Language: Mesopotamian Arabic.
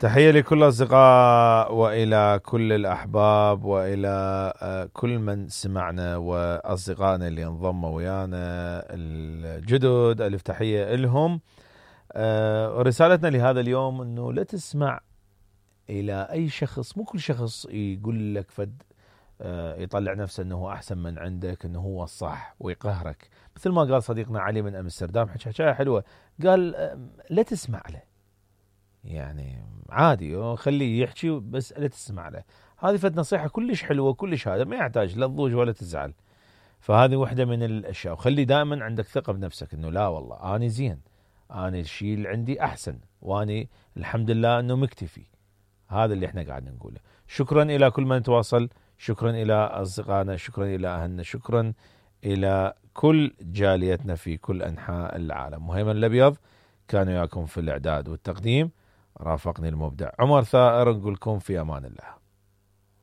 تحية لكل الأصدقاء وإلى كل الأحباب وإلى كل من سمعنا وأصدقائنا اللي انضموا ويانا الجدد. ألف تحية لهم. رسالتنا لهذا اليوم أنه لا تسمع إلى أي شخص، مو كل شخص يقول لك فد يطلع نفسه أنه أحسن من عندك، أنه هو الصح ويقهرك. مثل ما قال صديقنا علي من أمستردام حكاية حلوة، قال لا تسمع له، يعني عادي خليه يحكي بس لا تسمع له. هذه فد نصيحة كلش حلوة كلش، هذا ما يحتاج لا تضوج ولا تزعل. فهذه واحدة من الأشياء. وخلي دائما عندك ثقة بنفسك أنه لا والله أنا زين، أنا الشيء اللي عندي أحسن، وأنا الحمد لله أنه مكتفي. هذا اللي احنا قاعد نقوله. شكرا إلى كل من تواصل، شكرا إلى أصدقائنا، شكرا إلى أهلنا، شكرا إلى كل جاليتنا في كل أنحاء العالم. مهيمن الأبيض كان وياكم في الإعداد والتقديم، رافقني المبدع عمر ثائر. نقول لكم في أمان الله.